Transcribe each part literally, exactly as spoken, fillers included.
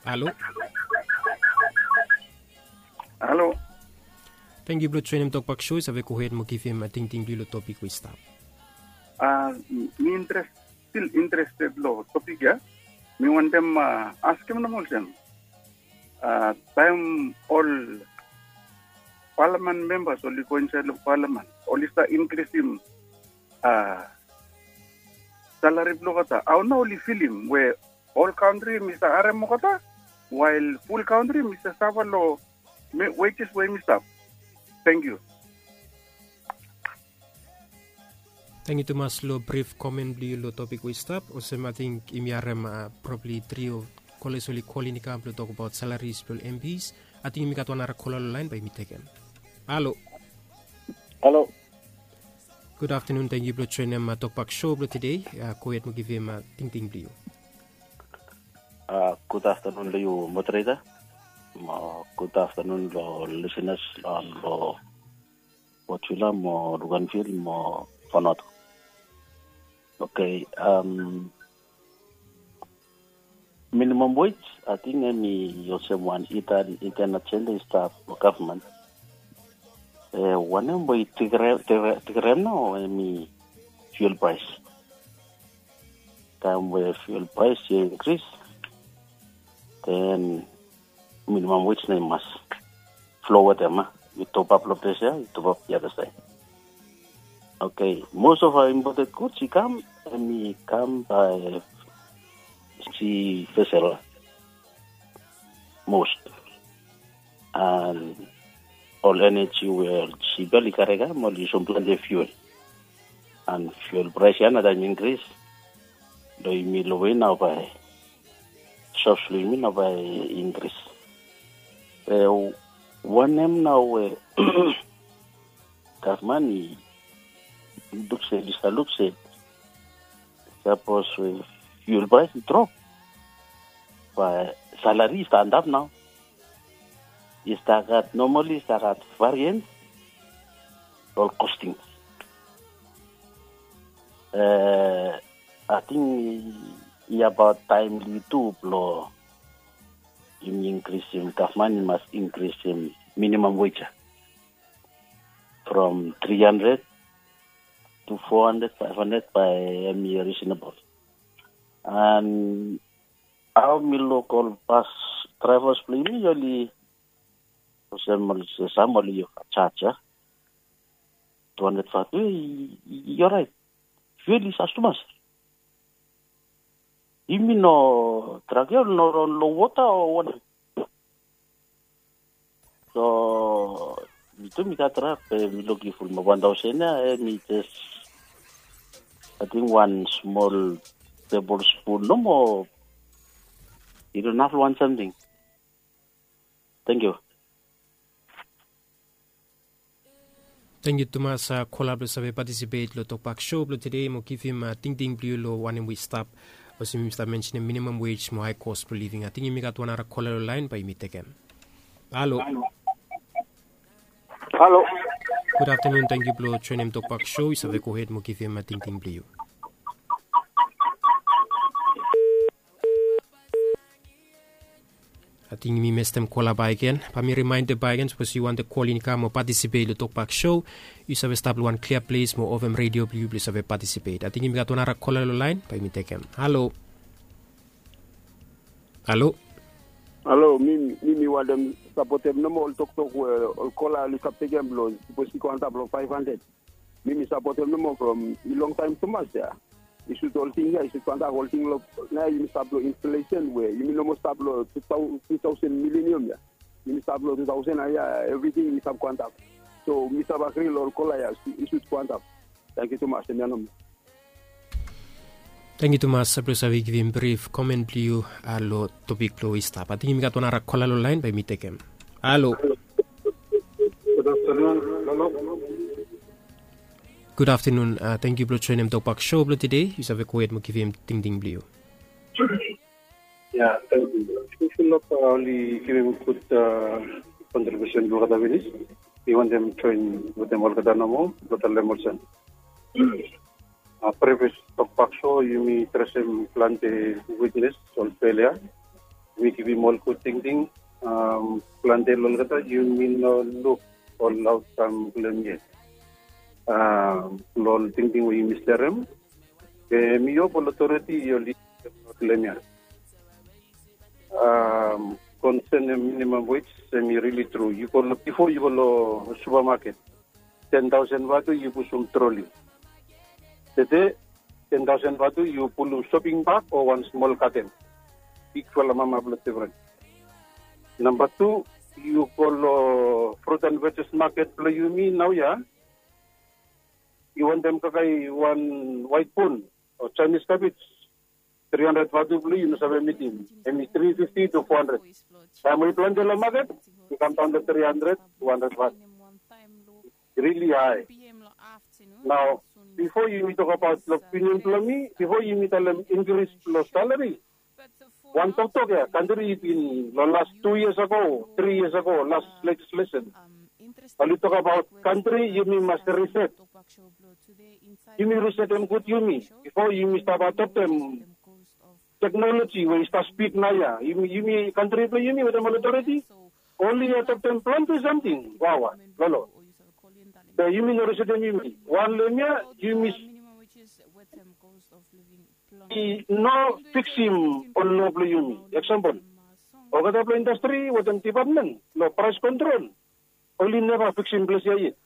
Halo. Halo. Tangkiu blong joinim Tokpak Show, yu save gohed mo givim tingting blong yu long topik we i stap. Mi interested, still interested long topik ya. Mi wantem askem nomo olsem, taem ol palamen membas oli go insaed long palamen, oli stap inkrisim salari blong olgeta, hao nao oli filim we ol kantri mi stap harem olgeta, wael ful kantri mi stap safa long wejes we yumi stap. Tangkiu. Tangkiu tumas long brif komen blong yu long topik we i stap. Olsem ating yumi harem probabli tri o koles oli kolin i kam blong tokbaot salaris blong ol MPs. Ating yumi gat wan nara kola long laen, bae yumi tekem. Halo. Halo. Gud aftanun, tangkiu blong joinim Tokpak Show blong tede. Gohed mo givim tingting blong yu. Gud aftanun long yu, moderator. Mo gud aftanun long lisenas long Port Vila mo Luganville mo Vanuatu. Okei. Minimam wage, ating hemi olsem wan hidden ajenda i stap long gavman. Wanem we i tekerem nao hemi fuel praes. Taem we fuel praes i inkris, den minimam wage nao i mas flo wetem, a? Yu topap long ples ya, yu topap the other side. Okei, most of our imported goods i kam, hemi kam bae sea vessel, most. And ol eneji we ol sip ya oli kare kam, oli yusum plante fuel. And fuel praes ya nao taem i inkris, long yumi long we nao bae jobs blong yumi nao bae i inkris. Wanem nao we gavman i luk se, i stap luk se sapos we fuel praes i drop, bae salari i stap antap nao. I stap gat, nomali i stap gat varians long ol kosting. Ating i abaot taem blong yu tu blong yumi inkrisim, gavman i mas inkrisim minimam wage ya from tri handred tu fo handred, faef handred, bae hemi risenabol. And hao mi luk ol bas draevas blong yumi, oli, olsem, olsem sam oli jaje ya tu handred fatu, i oraet. Fuel i sas tumas. Yumi no, trak ya oli no ran long wota o wanem? So mi tu mi gat trak, be mi lukim fulum wan taosen ya, hemi jes ating wan smol tebol spun nomo. I no inaf long wan samting. Tangkiu. Tangkiu tumas kola blong save patisipet long Tokpak Show blong tede mo givim tingting blong yu long wanem we i stap. Olsem yumi stap mensenim minimam wage mo hae kos blong living. Ating yumi gat wan nara kola long laen, bae yumi tekem. Halo. Halo. Gud aftanun, tangkiu blong joinim Tokpak Show. Yu save gohed mo givim tingting blong yu. Ating mi mestem kola bakegen. Bae mi rimaendem bakegen, sapos yu wantem kolin i kam o patisipet long Tokpak Show, yu save stap long wan klia ples mo ovem redio blong yu blong yu save patisipet. Ating yumi gat wan nara kola long laen, bae yumi tekem. Halo. Halo. Halo, mi, mi, mi wantem sapotem nomo ol toktok we ol kola oli stap tekem blong, sapos i go antap long faef handred. Mi, mi sapotem nomo from i longtaem tumas ya. I sut ol ting ya, i sut go antap ol ting long, nao yumi stap long inflesen we yumi no moa stap long tu taosen milenium ya. Yumi stap long tu taosen ya, evriting i stap go antap. So mi stap agri long ol kola ya, i sut go antap. Tangkiu tumas, hemia nomo. Tangkiu tumas blong save givim brif komen blong yu long topik blong we i stap. Ating yumi gat wan nara kola long laen, bae mi tekem. Halo. Gud aftanun, Lolo. Gud aftanun, tangkiu blong joinim Tokpak Show blong tede. Yu save gohed mo givim tingting blong yu. Ya, tangkiu. Tangkiu, Lolo, oli givim gud kontribiusen blong olgeta finis. Mi wantem joen wetem olgeta nomo blong talem olsem, previous Tokpak Show yumi adresem plante witnes ol felia. Mi givim ol gud tingting. Plante long olgeta yumi no luk ol autram blong yet. Long ol tingting we yumi serem, be mi hop ol otoriti oli blong ya. Konsen em minimum wage em i rili tru. Yu go long bifo yu go long supamaket, ten tausen vatu yu pusum troli. Tede ten tausen vatu yu pulum soping bak o wan smol katen. Bigfala mama blong tevren. Namba tu, yu go long frut an vejes maket blong yumi naoia. Yu wantem kakai wan waitbon o Chinese cabbage, tri handred vatu blong yu no save mitim. Em i tri fifti to fo handred. Taem we i plante long maket, i kam daon long tri handred, tu handred vatu. Rili hae. Nao, bifo yumi tokabaot long opinion blong mi, bifo yumi talem inkris blong salari, wan toktok ya, kantri i bin long las tu yias ago, tri yias ago, las lejislesen, oli tokabaot kantri yumi mas riset. Yumi risetem gud yumi bifo yumi stap adoptem teknoloji we i stap spid naoia. Yumi kantri blong yumi wetem ol otoriti oli adoptem plante samting wawa long lo. Be yumi no risetem yumi wan long hemia. Yumi i no fiksim ol lo blong yumi. Eksampol, olgeta blong indastri wetem dipatmen long praes kontrol, oli neva fiksim ples ya yet.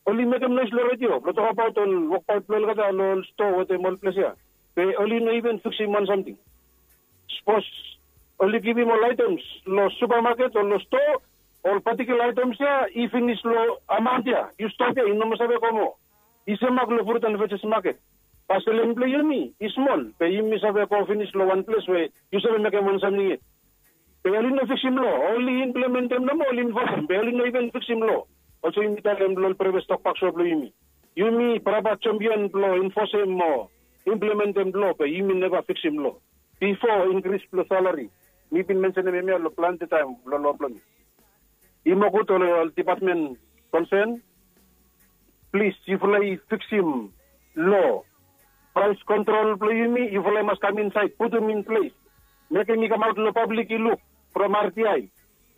Oli mekem noes long redio blong tokabaot ol wokbaot blong olgeta long ol stoa wetem ol ples ya, be oli no iven fiksim wan samting. Sapos oli givim ol aetems long supamaket o long stoa, ol patikula aetems ya i finis long amaon ya, yu stap ya, yu no moa save go moa. I semak long frut an vejes maket. Bae seleng blong yumi i smol, be yumi save go finis long wan ples we yu save mekem wan samting yet. Be oli no fiksim lo, oli implementem nomo, oli infosem, be oli no iven fiksim lo. Olsem yumi talem long ol previous tokbak so blong yumi, yumi prapa jampion blong infosem o implementem lo, be yumi neva fiksim lo. Bifo inkris blong salari, mi bin mensenem hemia long plante taem long lo blong mi. I moa gud ol dipatmen konsen, plis, yufala i fiksim lo. Praes kontrol blong yumi, yufala i mas kam insaed, putum in ples. Mekem i kamaot long pablik i luk from R T I.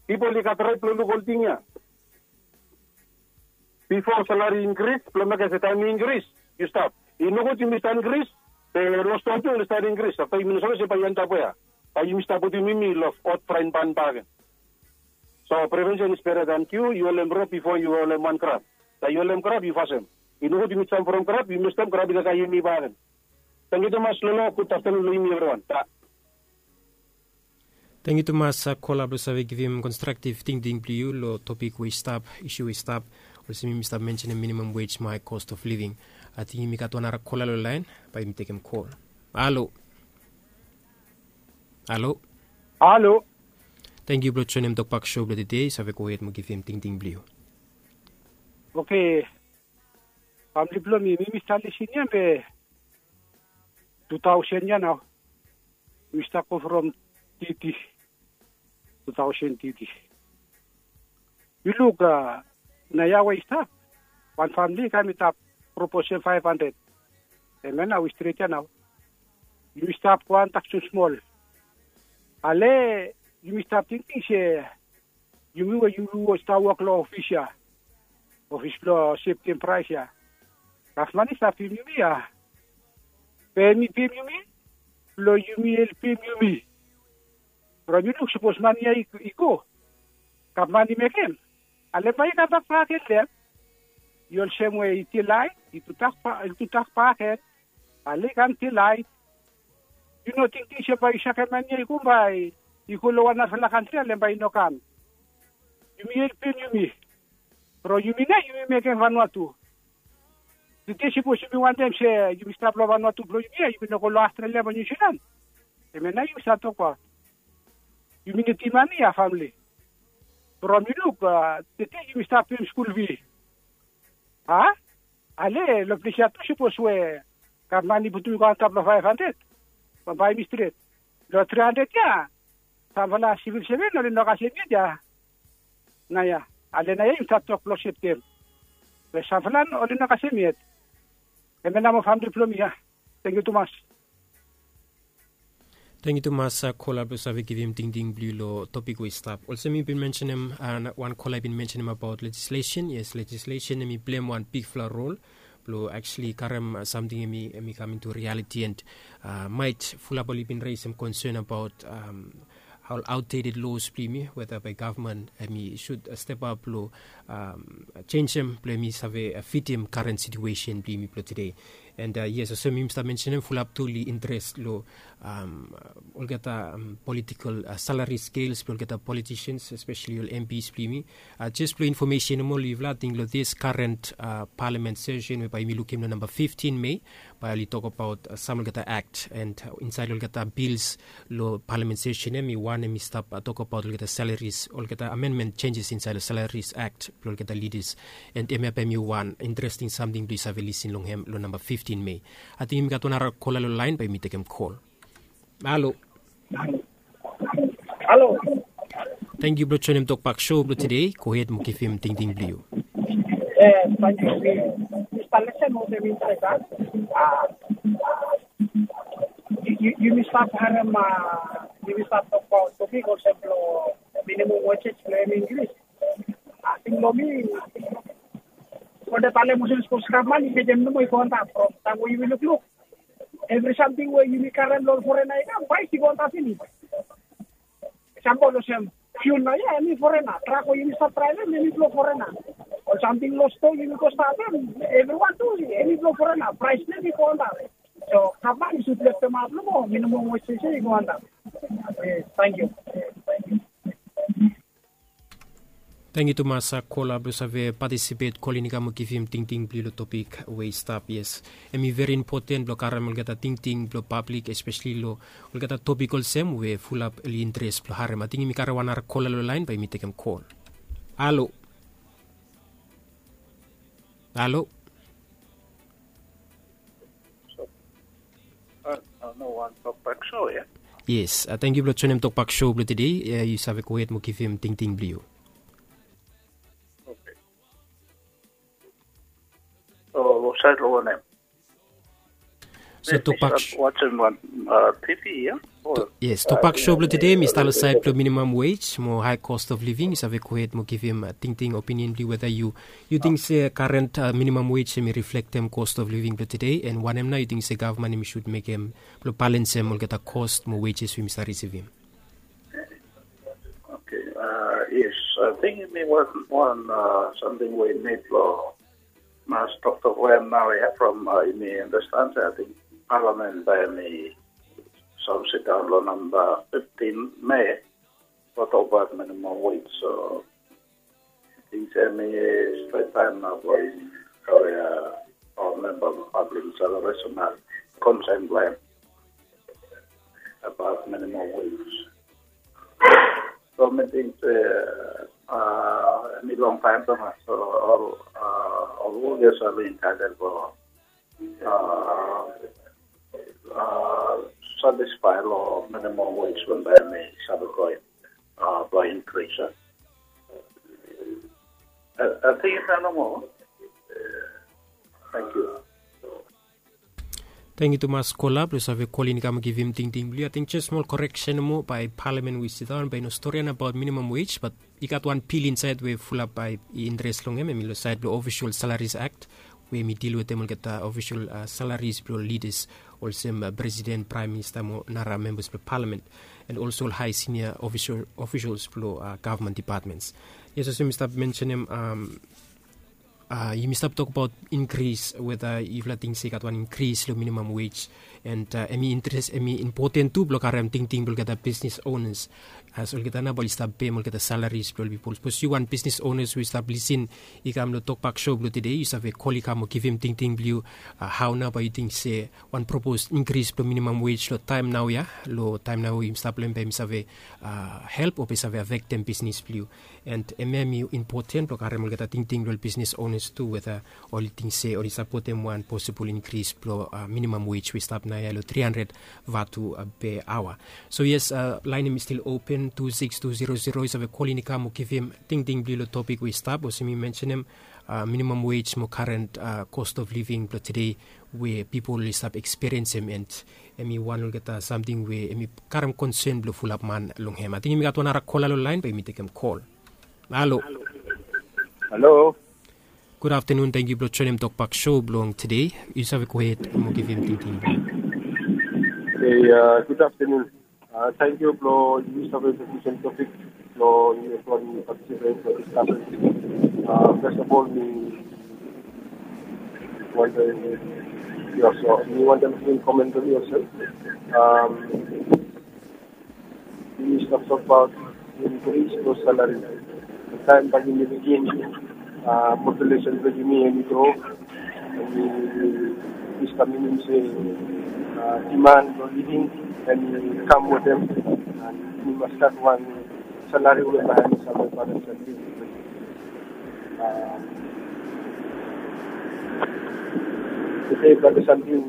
Pipol i gat rait blong luk ol ting ya. Bifo salari inkris, blong mekem se taem i inkris, yu stap. I nogud yumi stap inkris, be long stoa tu oli stap inkris. Afta yumi no save se bae i antap wea. Bae yumi stap putum yumi long hot frying pan bakegen. So prevention is better than cure. Yu holem rop bifo yu holem wan krab. Taem yu holem krab yu fasem. I nogud yumi jam from krab, yu mestem krab i kakae yumi bakegen. Tangkiu tumas Lolo, gud aftanun long yumi evriwan. Tangkiu tumas kola blong save givim konstraktiv tingting blong yu long topik we i stap, isu we i stap. Olsem yumi stap mensenem minimum wage mo hae cost of living. Ating yumi gat wan nara kola long laen, bae yumi tekem kol. Halo. Halo. Halo. Tangkiu blong joenem tokbak sou blong tede. Yu save gohed mo givim tingting blong yu. Oke. Famle blong mi, mi mi stap lisin ya be tu taosen ya nao. Mi stap go from titi, tu taosen titi. Yu luk, a, naoia we i stap, wan famle i kam i tap proposem faef handred. Hemia nao i stret ya nao. Yumi stap go antak smosmol. Ale yumi stap tingting se yumi we yumi stap wok long ofis ya, ofis blong septem praes ya, gavman i stap pem yumi ya. Be hem i pem yumi blong yumi helpem yumi. From yu luk, sapos mane ya i go, gavman i mekem, ale bae i kambak bakegen long hem. I olsem we i dilaed, i tudak bakegen. Ale i kam dilaed. Yu no tingting se bae yu sakem mane ya i go, bae i go long wan narafala kantri, ale bae i no kam. Yumi helpem yumi. From yumi nao yumi mekem Vanuatu. Tede sapos yumi wantem se yumi stap long Vanuatu blong yumi ya, yumi no go long Australia mo Niu Silan. Hemia nao yumi stap tokbaot. Yumi nidim mane ya, famle. From yu luk, a, tede yumi stap pem skul fi. A? Ale long ples ya tu, sapos we gavman i putum i go antap long faef handred, bambae yumi stret. Long tri handred ya, samfala sivil seven oli no kasem yet ya. Naoia, ale naoia yumi stap tok blong septem. Be samfala oli no kasem yet. Hemia nao mo famle blong mi ya. Tangkiu tumas. Tangkiu tumas kola blong save givim tingting blong yu long topik we i stap. Olsem mi bin mensenem, wan kola i bin mensenem abaot lejislesen. Yes, lejislesen em i pleim wan bigfala rol blong aktuali karem samting em i kam intu rialiti, and mait fulap oli bin resim konsen abaot ol autdeted los blong yumi, weta bai gavman em i sud step ap long jenisim blong em i save fitim karen situesen blong yumi blong tude. And yes, olsem yumi stap mensenem, fulap tu oli interes long olgeta politikal salari skels blong olgeta politisians, espeseli ol MPs blong yumi. Jes blong infomesen nomo long yufala, ating long dis karen palamen sesen we bai yumi lukim long namba fiftin Mei, bai oli tokabaot sam olgeta akt, and insaed long olgeta bils long palamen sesen ya, mi wantem i stap tokabaot olgeta salaris, olgeta amenmen senjes insaed long salaris akt blong olgeta lidas. And hemia bai mi wan interesting samting blong yu save lisin long hem long namba fiftin Mei. Ating yumi gat wan nara kola long laen, bai yumi tekem kol. Halo. Halo. Tangkiu blong joenem Tokbak Show blong tude. Gohed mo givim tingting blong yu. Yes, tangkiu. Mi stap lesen olsem interesan. Yumi stap harem, yumi stap tokbaot topik olsem blong minimum wages blong hem inkris. Ating long mi, ol de talem olsem sapos gavman i mekem nomo i go antap from taem we yumi lukluk, evri samting we yumi karem long ol forena i kam, praes i go antap finis. Eksampol olsem fiul naoia, em i forena. Trak we yumi stap draevem, em i blong forena. Ol samting long stoa yumi go stapem, evriwan tu, em i blong forena. Praes blong hem i go antap. So gavman i sud leftemap nomo minimum wages ya i go antap. Tangkiu. Tangkiu tumas kola blong save patisipet, kolin i kam mo givim tingting blong yu long topik we i stap. Yes, em i veri impoten blong karem olgeta tingting blong pablik, espeseli long olgeta topik olsem we fulap oli interes blong harem. Ating yumi karem wan nara kola long laen, bai yumi tekem kol. Halo. Halo. Yes, tangkiu blong joenem Tokbak Show blong tude. Yu save gohed mo givim tingting blong yu. Oke. So long saed long wanem? So Tokbak Show, wajem wan TV ya. Yes, Tokbak Show blong tude mi stap long saed blong minimam wage mo hae cost of living. Yu save gohed mo givim tingting, opinion blong yu, weta yu yu ting se karen minimam wage em i riflektem cost of living blong tude, and wanem nao yu ting se gavman em i sud mekem blong balensem olgeta cost mo wages we yumi stap risivim? Oke. Yes, ating em i wan samting we i nid blong mas toktok long hem naoia from yumi andastan se ating palamen bae hem i save sidaon long namba fiftin Mei blong tokbaot minimam wage. So ating se em i stret taem nao blong yumi, save ol memba blong pablik i save resem konsen blong hem abaot minimam wage. So mi ting se em i longtaem tumas, so ol wok ya save entaetel blong satisfae long minimam wage we bae hem i save go blong inkris. Ating hemia nomo. Tangkiu. Tangkiu tumas kola blong save kolin i kam givim tingting blong yu. Ating jes smol koreksen nomo, bae palamen we i sidaon bae i no storian abaot minimam wage, bat i gat wan bil insaed we fulap bae i interes long hem, hem i long saed blong Ofisol Salaris Akt, we hem i dil wetem olgeta ofisol salaris blong lidas olsem presiden, praem minista mo nara membas blong palamen, and olso ol hae sinia ofisols blong gavman depatmens. Yes, olsem mi stap mensenem, yumi stap tokbaot inkris, weta yufala ting se i gat wan inkris long minimam wage, and hem i interes, hem i impoten tu blong karem tingting blong olgeta bisnis onas, as olgeta nao bae oli stap pem olgeta salaris blong ol pipol. Sapos yu wan bisnis onas we yu stap lisin i kam long Tokbak Show blong tude, yu save kol i kam mo givim tingting blong yu. Hao nao bae yu ting se wan propos inkris blong minimam wage long taem naoia, long taem nao we yumi stap long hem, bae hem i save help o bae i save afektem bisnis blong yu? And hemia hem i impoten blong karem olgeta tingting blong ol bisnis onas tu, weta oli ting se oli sapotem wan posibol inkris blong minimam wage we i stap naoia long tri handred vatu per aoa. So yes, laen hem i stil open, tu sikis tu zero zero, yu save kolin i kam mo givim tingting blong yu long topik we i stap, olsem mi mensenem, minimam wage mo karen cost of living blong tude we pipol oli stap ekspiriensim, and hemi wan olgeta samting we hemi karem konsen blong fulap man long hem. Ating hemi gat wan ara kola long lain, bae yumi tekem kol. Halo. Halo. Gud aftenun, tangkiu blong joenem Tokpak Show blong tede. Yu save gohed mo givim tingting blong yu. Hey, uh, good afternoon. Uh, tangkiu blong yu save introduce topik blong yu, blong yu participate blong discussion. Uh, first of all, mi wantem, mi wantem givim comment blong mi olsem. Um, Yumi stap tokbaot increase blong salary. Taem bae yumi lukim, uh, population blong yumi hemi gro, hemi stap minim se, uh, demand blong living hemi kam wetem. And yumi mas gat wan salary we bae hemi save balance. Uh, to se bae samting,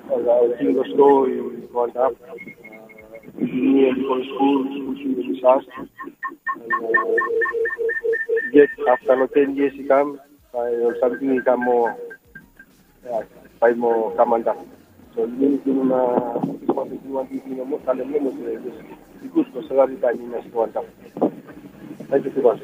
uh, ol ting go slo i go antap. Uh, yumi hemi go skul, skul fee hemi sas. And, uh, yet afta long ten years i kam, bae ol samting i kam moa, ya, bae i moa kam antap. So yumi, yumi mas, yumi mas, yumi mas, yumi mas talem nomo se i gud long salary bae i mas go antap. Tangkiu tumas.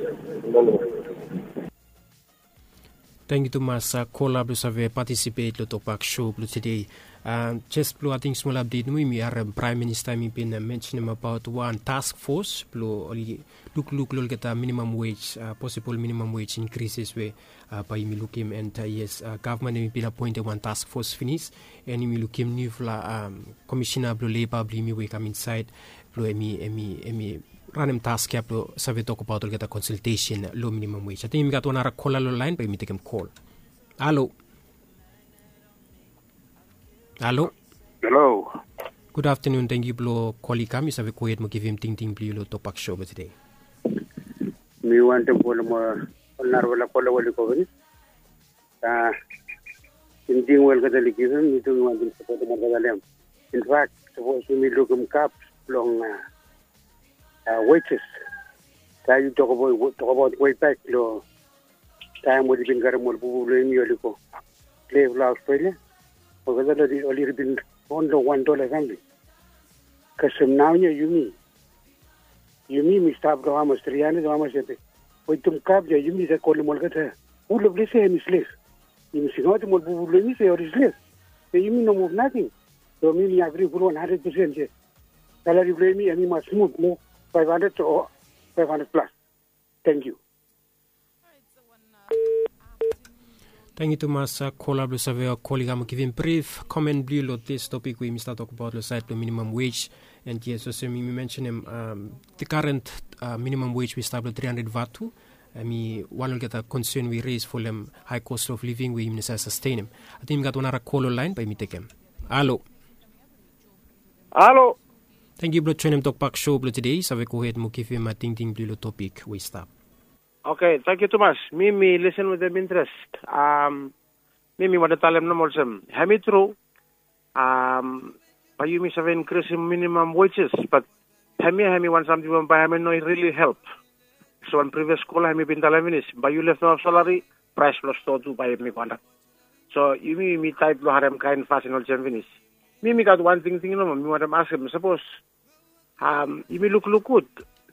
Tangkiu tumas, uh, kola blong save patisipet long Tokpak Show blong tede. Uh, jes blong ating smol apdet nomo, yumi harem Praem Minista hemi bin, uh, mensenem abaot wan task force blong oli lukluk long olgeta minimum wage, uh, posibol minimum wage increases we, uh, bae yumi lukim, and, uh, yes, uh, gavman hemi bin apoentem wan task force finis, and yumi lukim niufala, um, komisena blong leba blong yumi we i kam insaed blong hemi, hemi, hemi ranem task ya blong save tokbaot olgeta konsaltesen long minimum wage. Ating yumi gat wan ara kola long laen, bae yumi tekem kol. Halo. Halo. Halo. Gud aftenun, tangkiu blong kol i kam, yu save gohed mo givim tingting blong yu long Tokpak Show blong tede. Mi wantem folem ol narafala kola we oli go finis. A, tingting we olgeta oli givim, mi tu mi wantem sapotem olgeta long hem. In fact, sapos yumi lukim gap long, a, a, wages. Taem yu tokbaot, tokbaot wei bak long taem oli bin karem ol bubu blong yumi oli go slave long Australia. Olgeta oli, oli bin ron long wan dola samting. Kasem naoia yumi, yumi mi stap long hamas, tri handred o hamas hemia. Wetem gap ya yumi save kolem olgeta, ol ples ya hemi slave. Yumi singaotem ol bubu blong yumi se oli slave. Be yumi no muv nating. So mi mi agri ful wan handred pesen se salary blong yumi hemi mas muv long faef handred o faef handred plas. Tangkiu. Tangkiu tumas, uh, kola blong save kol i kam givim brif komen blong yu long dis topik we yumi stap tokbaot long saed blong minimum wage. And yes, olsem yumi mensenem, um, the current, uh, minimum wage we i stap long tri handred vatu, hemi wan olgeta konsen we i res folem high cost of living we yumi no save sastenem. Ating yumi gat wan ara kol long laen, bae yumi tekem. Halo. Halo. Tangkiu blong joenem Tokpak Show blong tede. Yu save gohed mo givim, uh, tingting blong yu long topik we i stap. Oke, tangkiu tumas. Mi mi lisen wetem intres. Um, mi mi wantem talem nomo olsem, hemi tru, um, bae yumi save inkrisim minimum wages, bat hemia hemi wan samting we bae hemi no rili help. So wan privias kola hemi bin talem finis, bae yu leftem haf salary, praes blong stoa tu bae hemi go antap. So yumi, yumi taet blong harem kaen fasin olsem finis. Mi mi gat wan tingting nomo mi wantem askem, sapos Um, yumi lukluk gud.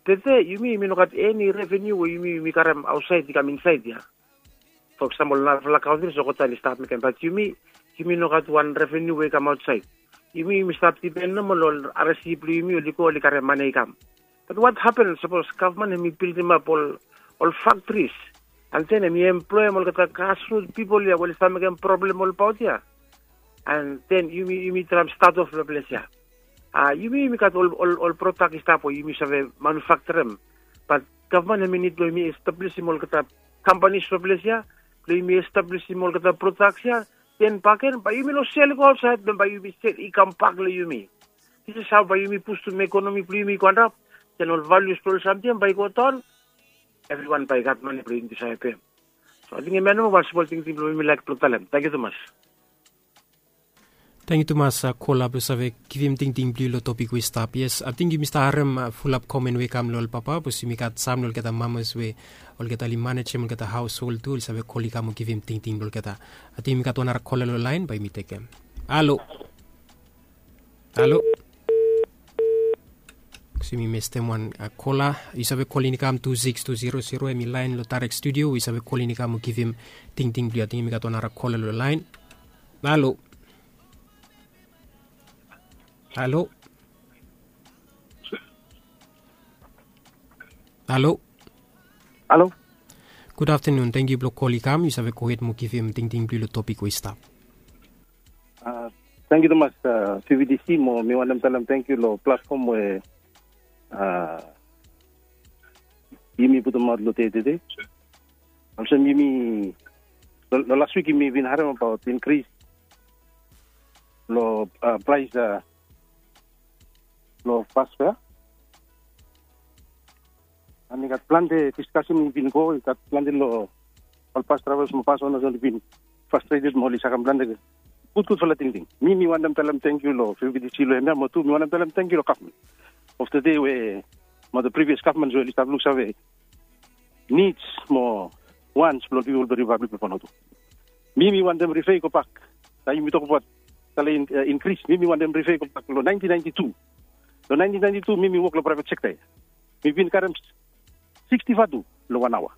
Tede yumi, yumi no gat eni reveniu we yumi, yumi karem aotsaed i kam insaed ya. For example, narafala kantri olgeta oli stap mekem, bat yumi, yumi no gat wan reveniu we i kam aotsaed. Yumi, yumi stap dipen nomo long ol R S C blong yumi oli go oli karem mane i kam. Bat what happen sapos gavman hemi bildimap ol, ol faktris, and then hemi emploem olgeta grassroot pipol ya we oli stap mekem problem olbaot ya? And then yumi, yumi traem stat of long ples ya. A, yumi, yumi gat ol, ol, ol prodak i stap we yumi save manufakturem. Bat gavman hemi nid blong yumi establisim olgeta kampanis long ples ya, blong yumi establisim olgeta prodaks ya. Then baken bae yumi no sel i go aotsaed, then bae yumi sel i kambak long yumi. This is how bae yumi pustum ekonomi blong yumi i go antap. Then ol valius blong ol samting bae i go daon. Evriwan bae i gat mane blong yumi save pem. So ating hemia nomo wan smol tingting blong mi mi laek blong talem. Tangkiu tumas. Tengiu tumas kola blong save givim tingting blong yu long topik we i stap. Yes, ating yumi stap harem fulap komen we i kam long ol papa bikos yumi gat sam long olgeta mamas we olgeta oli manejem olgeta haoshol tu oli save kol i kam o givim tingting blong olgeta. Ating yumi gat wan ara kola long laen bae yumi tekem. Halo. Halo. Bikos yumi mestem wan kola. Yu save kolin i kam tu sikis tu zero zero, hem i laen long taerek studio we yu save kolin i kam o givim tingting blong yu. Ating yumi gat wan ara kola long laen. Halo. Halo. Halo. Halo. Gud aftanun, tengiu blong kol i kam. Yu save gohed mo givim tingting blong yu long topik we i stap. Tengiu tumas, pvtc, mo mi wantem talem tengiu long platfom we yumi putumaot long dei tede. Olsem yumi, long las wik yumi bin harem abaot inkris long praes blong bas fea. An i gat plante diskasen i bin go, i gat plante long ol bas draevas mo bas onas oli bin frastreted mo oli sakem plante gudgudfala tingting. Mi mi wantem talem tengiu long pvtc long hemia mo tu mi wantem talem tengiu long gavman of the day we mo the previous gavman we oli stap luksave nids mo wans blong pipol blong ripablik blong Vanuatu. Mi mi wantem rife i gobak. Taem yumi tokbaot salari inkris, mi mi wantem rife i gobak long naentin naenti tu. Long naentin naenti tu mi mi wok long praevet sekta ya. Mi bin karem siksti vatu long wan aoa.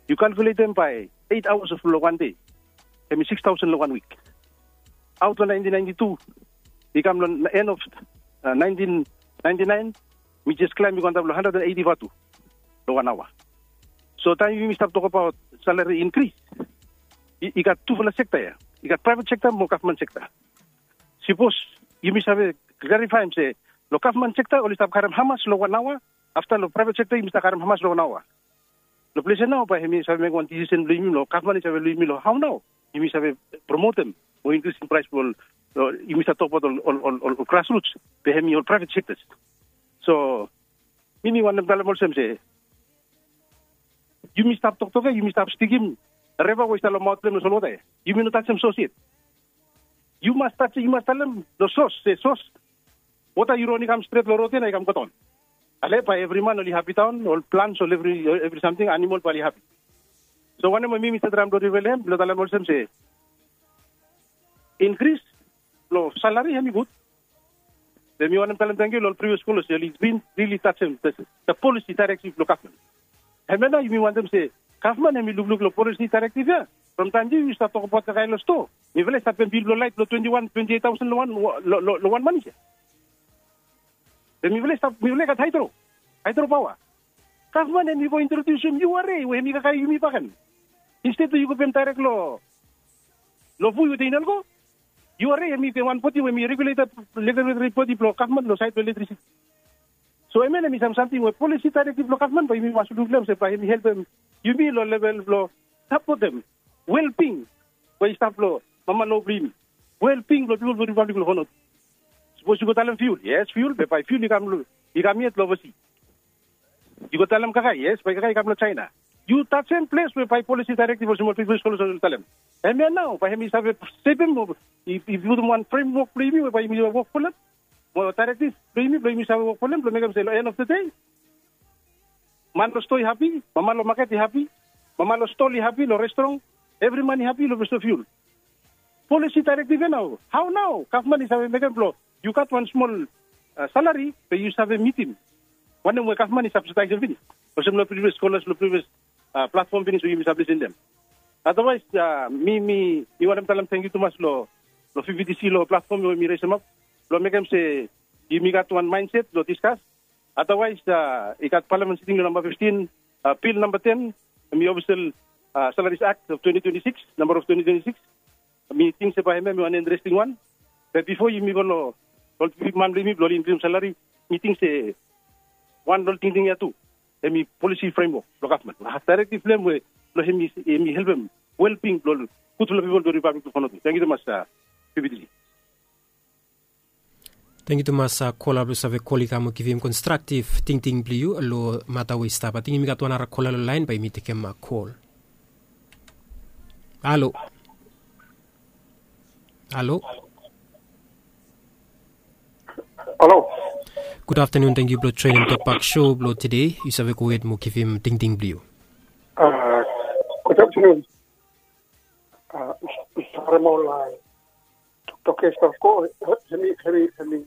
Yu kalkuletem bae eit aoas long wan dei, hemi sikis taosen long wan wik. Aot long naentin naenti tu i kam long en of naentin naenti naen, mi jes klaem i go antap long handred and eiti vatu long wan aoa. So taem yumi stap tokbaot salari inkris, i gat tufala sekta ya. I gat praevet sekta mo gavman sekta. Sipos yumi save klarifaem se long gavman sekta oli stap karem hamas long wan aoa, afta long praevet sekta yumi stap karem hamas long wan aoa. Long ples ya nao bae hemi save mekem wan disisen blong yumi long gavman i save long yumi long hao nao yumi save promotem mo inkrisim praes blong ol, yumi stap tokbaot ol grasruts, be hemi ol praevet sektas. So mi mi wantem talem olsem se yumi stap toktok ya, yumi stap stikim reva we i stap long maot blong hem long solwota ya. Yumi no tajem sos yet. Yu mas tajem, yu mas talem long sos se sos, wota yu ron i kam stret long rod ya na i kam godaon. Ale bae evri man oli hapi daon, ol plants ol evri evri samting, animol bae oli hapi. So wanem we mi mi save traem blong rivael hem blong talem olsem se inkris blong salari hemi gud. Be mi wantem talem tengiu long ol privios kolas oli bin rili tajem the polisi daerektiv blong gavman. Hemia nao yumi wantem se gavman hemi lukluk long polisi daerektiv ya. From taem yu yu stap tokbaot kakae long stoa, mifala i stap pem bil blong laet blong twenti wan twenti eit taosen long wan long wan manis ya. Be mifala i stap, mifala i gat haedro, haedro paoa. Gavman hemi go introdiusim yu ware we hemi kakae yumi bakegen. Insted we yu go pem daerek long long fu yu tein ol go. Yu ware hemi wan bodi we hemi reguleta, reguletri bodi blong gavman long saed blong elektrisiti. So hemia na hemi sam samting we polisi daerektiv blong gavman bae yumi mas luk long hem se bae hemi helpem yumi long level blong sapotem welbing we i stap long mama long blong yumi, welbing blong pipol blong ripablik blong Vanuatu. Sipos yu go talem fiul, yes, fiul, be bae fiul i kam long, i kam yet long ovasi. Yu go talem kakae, yes, bae kakae i kam long Jaena. Yu tajem ples we bae polisi daerektiv olsem ol privios kolas oli talem. Hemia nao bae hemi save sepem mo i putum wan fremwok blong yumi we bae yumi wok folem, mo daerektiv blong yumi blong yumi save wok folem blong mekem se long en of the dei man long stoa i hapi, mama long maket i hapi, mama long stol i hapi, long restoran, evri man i hapi long ples blong fiul. Polisi daerektiv ya nao, hao nao gavman i save mekem blong yu gat wan smol salari be yu save mitim wanem we gavman i sabsidaesem finis, olsem long privios kolas long privios platfom finis we yumi save lisin long hem. Adawaes mi mi mi wantem talem tengiu tumas long long pvtc long platfom we mi resemap blong mekem se yumi gat wan maenset blong diskas. Adawaes i gat palamen siting long namba fiftin, bil namba ten, hemi ofisel salaris akt of twenti twenti sikis, namba of twenti twenti sikis. Mi ting se bae hemia hemi wan interesting wan. Be bifo yumi go long ol bigman blong yumi blong oli inkrim salari, mi ting se wan long ol tingting ya tu hemi polisi fremwok blong gavman, daerektiv blong hem we blong hemi helpem welbing blong ol gudfala pipol blong ripablik blong Vanuatu. Tengiu tumas, pvtc. Tengiu tumas kola blong save kol i kam o givim konstraktiv tingting blong yu long mata we i stap. Ating yumi gat wan ara kola long laen bae yumi tekem kol. Halo. Halo. Halo. Gud aftenun, tangkiu blong joenem tokbak sho blong tede. Yu save go hed mo givim tingting blong yu. Gud aftenun. Mista Harem, ol toktok ya i stap go, hemi hemi hemi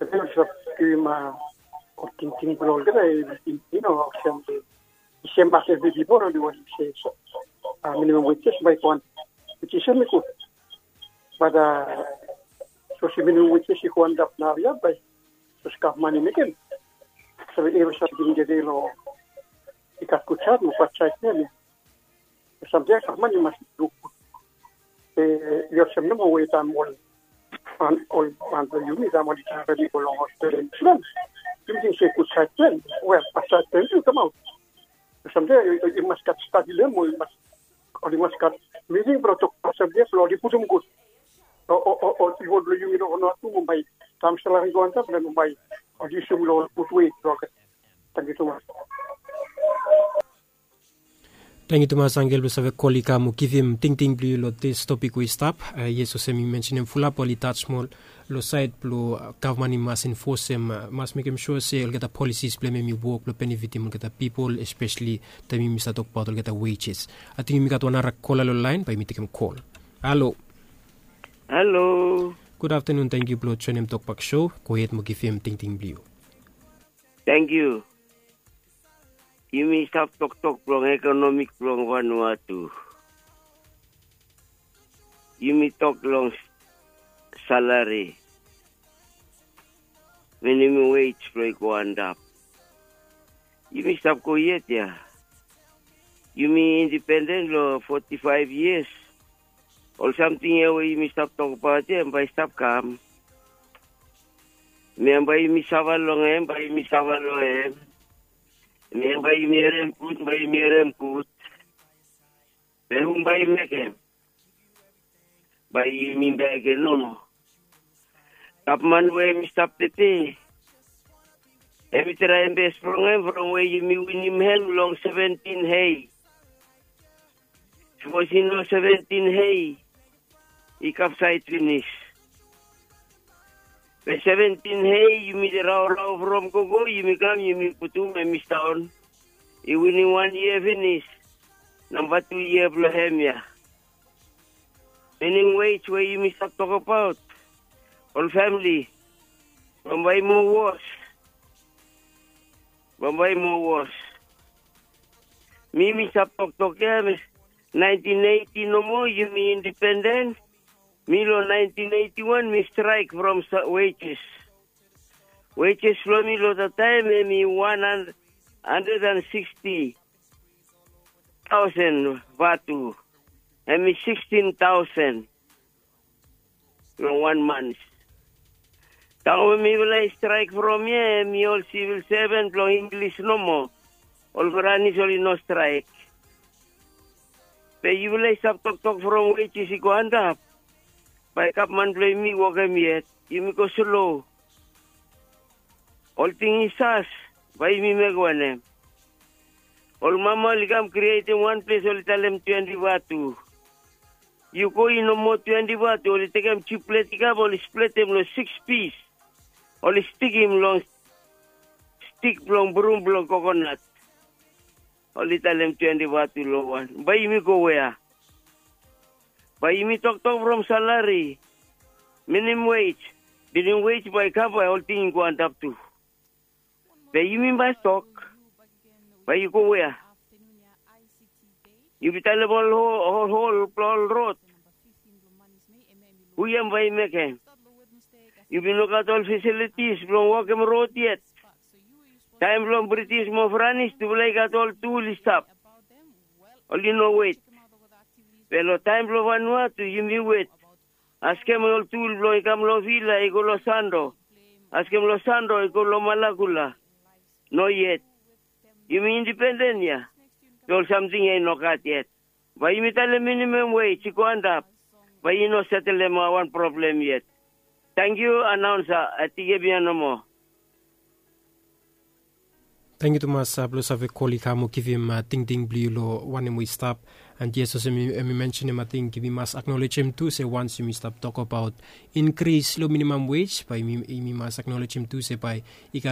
hemi ol i stap givim ol tingting blong olgeta, i no olsem i sem as evri pipol oli wantem se minimum wages bae i go antap, which is hemi gud. Bat sapos minimum wages i go antap naoia bae sapos gavman i mekem, save evri samting i tede long i gat gud saed mo bad saed blong hem ya. Samting ya gavman i mas luk gud. Be i olsem nomo we taem ol ol man blong yumi taem oli karem i go long hospital, yumi ting se gud saed blong hem, wel bad saed blong hem tu i kamaot. Samting ya i mas gat stadi long hem, o i mas oli mas gat miting blong tokbaot samting ya blong oli putum gud. O o o o i wol blong yumi long noat tu mo bae taem salari i go antap blong hem mo bae oli yusum long ol gud wei blong olgeta. Tangkiu tumas. Tangkiu tumas Angel blong save kol i kam mo givim tingting blong yu long dis topik we i stap. Yes, olsem mi mensenem fulap oli tas moa long saed blong gavman i mas enfosem, mas mekem sua se olgeta polisis blong hem i wok blong benefitim olgeta pipol, espeseli taem yumi save tokbaot olgeta wages. Ating yumi gat wan nara kola long laen, bae yumi tekem kol. Halo. Halo. Gud aftenun, tangkiu blong joenem tokbak sho. Go hed mo givim tingting blong yu. Tangkiu. Yumi stap toktok blong ekonomik blong Vanuatu. Yumi tok long salari, minimum wage blong i go antap. Yumi stap go yet ya. Yumi indipenden long foti faef yias. Ol samting ya we yumi stap tokbaot ya hem bae i stap kam. Mi hem bae yumi sava long hem, bae yumi sava long hem. Mi hem bae yumi harem gud, bae yumi harem gud. Be hum bae i mekem? Bae yumi bae i ken nomo. Gavman we hem i stap tede, hem i traem bes blong hem from we yumi winim hem long seventin hei. Sapos i no seventin hei, i kapsaed finis. Be seventin hei yumi raorao from gogo, yumi kam yumi putum hem i staon. I winim wan yia finis. Namba tu yia blong hem ya. Minimum wage we yumi stap tokbaot, ol famili, bambae i moa wos. Bambae i moa wos. Mi mi stap toktok ya, naentin eiti nomo yumi indipenden. Mi long naentin eiti wan mi straek from wages. Wages blong mi long dat taem hem i wan handred an siksti taosen vatu. Hem i sikstin taosen long wan mans. Taem we mifala i straek from ya, hem i ol sivil seven blong Inglis nomo. Ol Franis oli no straek. Be yufala i stap toktok from wages i go antap. Bae gavman blong yumi wokem yet, yumi go slo. Ol ting i sas, bae yumi mekem wanem? Ol mama oli kam krietem wan ples, oli talem twenti vatu. Yu go i no moa twenti vatu, oli tekem tu plet i kam, oli spletem long siks pis. Oli stikim long stik blong brum blong kokonat. Oli talem twenti vatu long wan. Bae yumi go wea? Bae yumi toktok from salari, minimum wage, minimum wage bae i kam, bae olting i go antap tu. Be yumi bae tok, bae yu go wea? Yumi talem ol hol, hol blong ol rod. Hu hem bae i mekem? Yumi no gat ol fasilitis blong wokem rod yet. Taem blong Britis mo Franis, tufala i gat ol tul i stap. Oli no wet. Be long taem blong Vanuatu yumi wet. Askem ol tul blong i kam long Vila i go long Sando. Askem long Sando i go long Malakula. No yet. Yumi indipenden ya. Be ol samting ya i no gat yet. Bae yumi talem minimum wage i go antap. Bae i no setelem wan problem yet. Tangkiu, anaonsa. Ating hemia nomo. Tangkiu tumas blong save kol i kam o givim tingting blong yu long wanem we i stap. And yes olsem em i mensenim ating yumi mas aknolejem tu se wans yumi stap tokabaot inkris long minimam wej bae yumi mas aknolejem tu se bae i gat